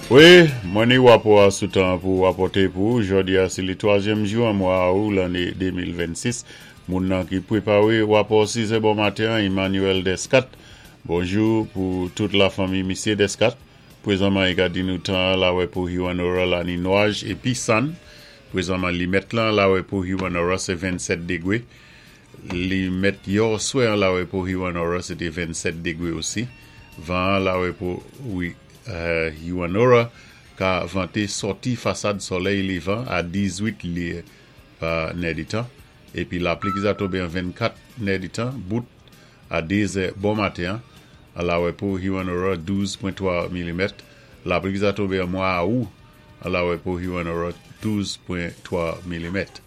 Wi, mwen ni wapò a sou tan pou wapòté pou ou. Jòdi a sé le twazyèm jou an mwa Awou lanné 2026. Moun nan ki pwépawé wapò sizè bon maten an, Emmanuel Descat. Bonjou pou tout lafanmi misyé Descat. Pwézanman i ka di nou tan an lawè pou Hewanorra la ni nwaj épi sann. Pwézanman limèt lan lawè pou Hewanorra sé 27 degwé. Limèt yòswè an lawè pou Hewanorra sé té 27 degwé osi. Van an lawè pou Hewanorra ka vante sòti fasad sòlèy lévan a 18 lyé pa nèditan épi lapli ki sa tonbé an 24 nèditan bout A 2 zè bon maten an, an Lawepo, Hewanorra, 12.3 milimèt, lapli ki sa tonbe an mwa Awou, an Lawepo, Hewanorra, 12.3 milimèt.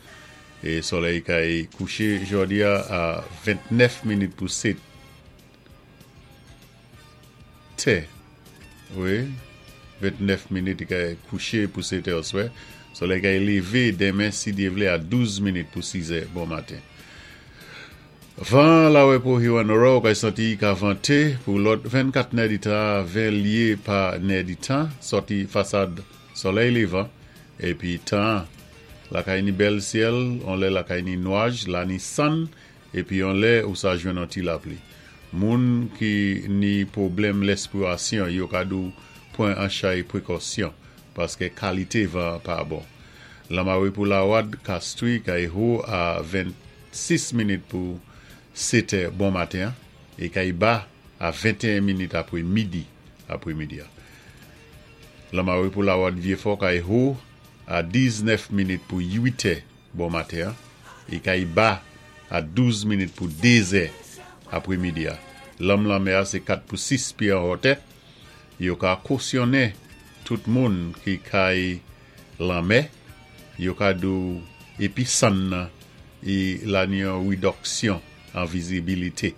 E solèy kay kouche jòdi a a 29 minit pou 7 tè. Wi, 29 minit li kay kouche pou 7 è oswè. Solèy kay leve denmen si Dye vle a 12 minit pou 6 è bon maten. Van an lawè pou Hewanorra ou kay santi i ka vante pou lòt 24 nèditan a 20 lye pa nèditan sòti fasad solèy levan epi tan an lakay ni bèl syèl on lè lakay ni nwaj la ni sann epi on lè ou sa jwenn on ti lapli moun ki ni pwoblèm lèspirasyon yo ka dou pwan an chay prekòsyon paske kalite van an pa bon lanmare pou lawad kastri kay ho a 26 minit pou setè bon maten an e kay ba a 21 minit apre midi apre midi a. Lanmare pou Lawad Vyefò kay ho a 19 minit pou uitè bon maten an e kay ba a 12 minit pou dezè apre midi a. Lanm lanmè a se 4 pou 6 pye an hòtè. Yo ka kosyonnen tout moun ki kay lanmè, yo ka di w epi sann nan e la ni yon ridòksyon an vizibilite.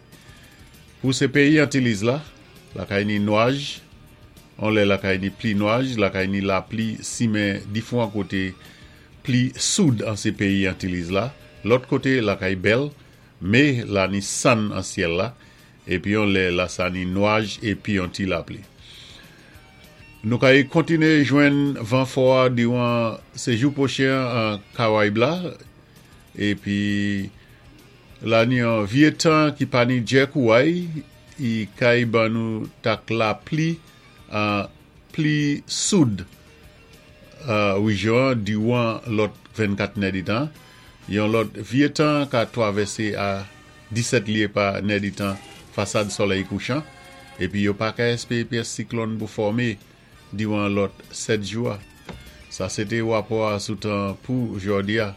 Pou se peyi Antiliz la, lakay ni nwaj, on lè lakay ni pli nwaj, lakay ni lapli simen difwan kote pli soud an se peyi Antiliz la, lòt kote lakay bèl, me la ni sann an syèl la, Epi yon lè la sa ni nwaj epi yon ti lapli. Nou ka y kontine jwenn van fò a diran sejou pwochen an Karayib la epi la ni yon vye tan ki pa ni djè kouway i kay ban nou tak lapli an pli soud rejyon an diran lòt 24 nèditan. Yon lòt vye tan ka twavèse a 17 lye pa nèditan fasad solèy kouchan, epi yo pa ka espere pyès siklòn pou fòme diran lòt 7 jou a. Sa se te rapò a sou tan pou jòdi a.